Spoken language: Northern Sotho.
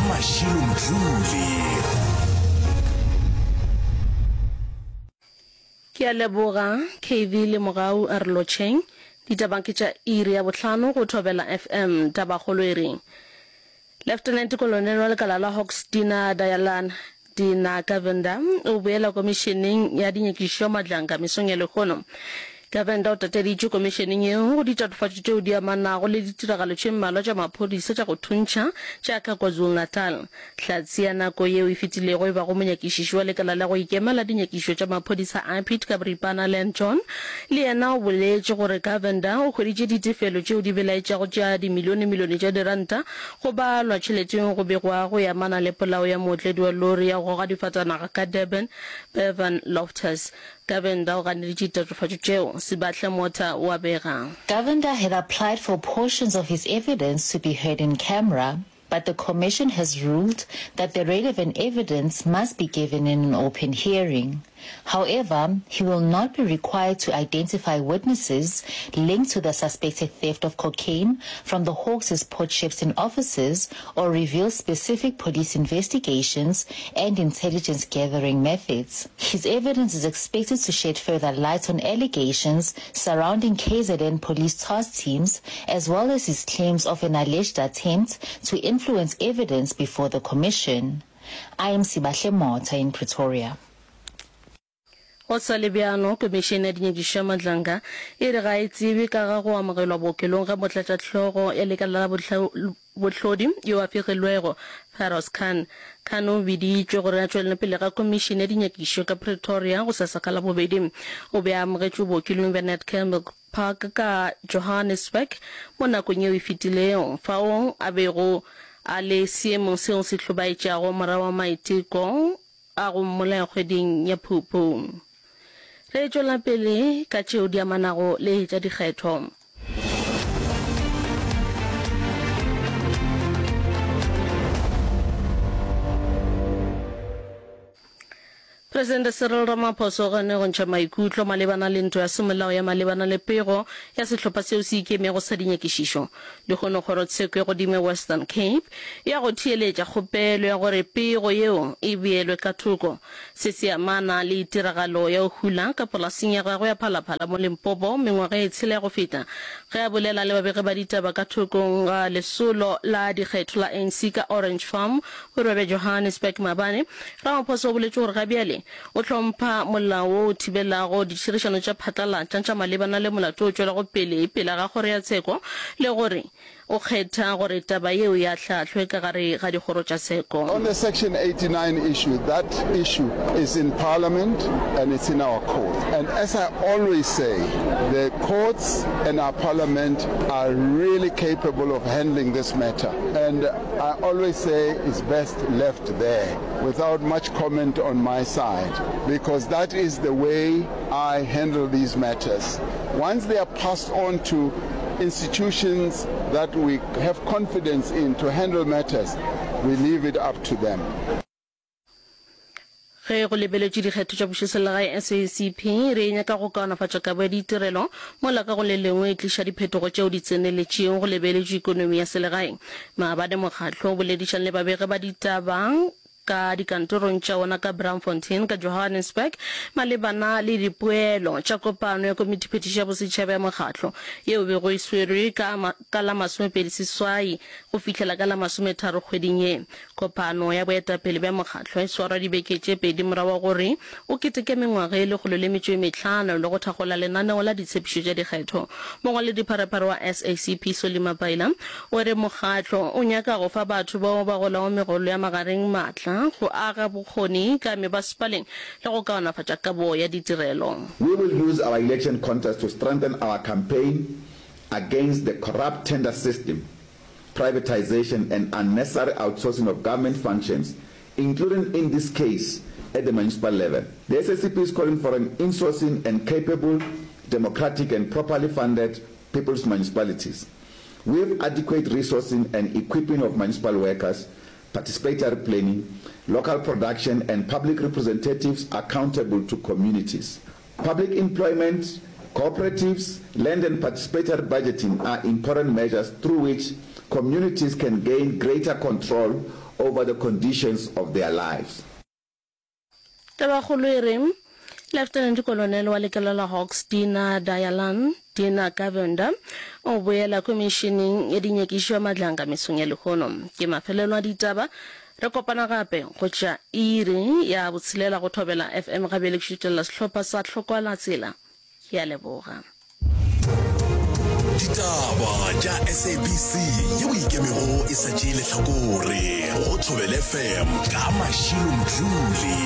Mashilo Mdluli. Ke a leboga KV le Mogau a re lotšheng. Ditaba ke tša iri ya bohlano go Thobela FM. Tabakgolo e re Leftenente Kolonele wa lekala la Hawks Dina Dayalan Dina Govender o boela komišeneng ya dinyakišišo ya Madlanga mesong ya lehono. Govender o tateditšwe komišeneng yeo go ditatofatšo tšeo di amanago le ditiragalo tše mmalwa tša maphodisa tša go thuntšha tša ka KwaZulu-Natal. Hlatse ya nako yeo e fetilego e bago monyakišiši wa lekala la go ikema la dinyakišišo tša maphodisa IPID ka boripana Len John le yena o boletše gore Govender o hweditše ditefelo tšeo di belaetšago tša dimilionemilione tša diranta go balwa tšheleteng go begwago e amana le polao ya mootledi wa lori ya go goga difatanaga ka Durban Bevan Loftus. Govender o ganeditše ditatofatšo tšeo, Sibahle Motha o a bega. Govender had applied for portions of his evidence to be heard in camera, But the commission has ruled that the relevant evidence must be given in an open hearing. However, he will not be required to identify witnesses linked to the suspected theft of cocaine from the Hawks' Port Shepstone offices or reveal specific police investigations and intelligence gathering methods. His evidence is expected to shed further light on allegations surrounding KZN police task teams as well as his claims of an alleged attempt to influence evidence before the commission. I am Sibahle Motha in Pretoria. Go sa le bjalo, Komišene ya Dinyakišišo ya Madlanga e re ga e tsebe ka ga go amogelwa bookelong ga motlatšahlogo ya lekala la bohlodi yo a fegilwego, Feroz Khan. Khan o biditšwe gore a tšwelele pele ga komišene ya dinyakišišo ka Pretoria gosasa ka Labobedi. O be a amogetšwe bookelong bja Netcare Milk Park ka Johannesburg mo nakong yeo e fetilego, fao a bego a le seemong seo se hlobaetšago morago ga maiteko a go mmolaya kgweding ya Phupu. Re tšwela pele ka tšeo di amanago le tša dikgetho. Presidente Cyril Ramaphosa o ganne go ntšha maikutlo malebana le ntwa ya semolao ya malebana le pego ya sehlopha seo se ikemego sa dinyakišišo. Lehono kgorotsheko ya godimo ya Western Cape e ya go theeletša kgopelo ya gore pego yeo e beelwe ka thoko. Se se amana le tiragalo ya go hula ka polaseng ya gagwe ya Phalaphala mo Limpopo mengwaga e tshela ya go feta. Ge a bolela le babegi ba ditaba ka thokong ga lesolo la dikgetho la ANC ka Orange Farm borwa bja Johannesburg maabane, Ramaphosa o boletše gore ga bjale o hlompha molao wo o thibelago ditšhirišano tša phatlalatša tša malebana le molato o tšwelago pele pele ga kgoro ya tsheko le gore o kgetha gore taba yeo e ahlaahlwe ka gare ga dikgoro tša tsheko. On the section 89 issue, that issue is in parliament and it's in our court and as I always say, the courts and our parliament are really capable of handling this matter and I always say it's best left there without much comment on my side because that is the way I handle these matters. Once they are passed on to institutions that we have confidence in to handle matters, we leave it up to them. Ge go lebeletšwe dikgetho tša pušoselegae, SACP e re e nyaka go kaonafatša kabo ya ditirelo mola ka go le lengwe e tliša diphetogo tšeo di tseneletšego go lebeletšwe ikonomi ya selegae. Maabane mokgatlo o boledišane le babegi ba ditaba ka dikantorong tša wona ka Braamfontein ka Johannesburg malebana le dipoelo tša kopano ya komitiphethiši ya bosetšhaba ya mokgatlo yeo e bego e swerwe ka ka la 28 go fihlela ka la 30 kgweding ye. Kopano ya boetapele bja mokgatlo e swarwa dibeke tše pedi morago ga gore o keteke mengwaga e 105 le go thakgola lenaneo la ditshepišo tša dikgetho. Mongwaledipharephare wa SACP Solly Mapaila o re mokgatlo o nyaka go fa batho bao ba golago megolo ya magareng maatla go aga bokgoni ka mebasepaleng le go kaonafatša kabo ya ditirelo. We will use our election contest to strengthen our campaign against the corrupt tender system privatization and unnecessary outsourcing of government functions, including in this case at the municipal level. The SACP is calling for an insourcing and capable, democratic and properly funded people's municipalities with adequate resourcing and equipping of municipal workers, participatory planning, local production and public representatives accountable to communities. Public employment, cooperatives, land and participatory budgeting are important measures through which communities can gain greater control over the conditions of their lives. Tabakgolo e re, Lieutenant Colonel wa lekala la Hawks Dina Dayalan Dina Govender o boela khomišeneng ya dinyakišo ya Madlanga mesong ya lehono. Ke mafelelo a ditaba. Re kopana gape go tša iri ya botshelela go Thobela FM. Ga bjale ke šutelela sehlopha sa Tlhokwala Tsela. Ke a leboga. Ditaba tša SABC yeo e ikemego e sa tšee lehlakore go Thobela FM ka Mashilo Mdluli.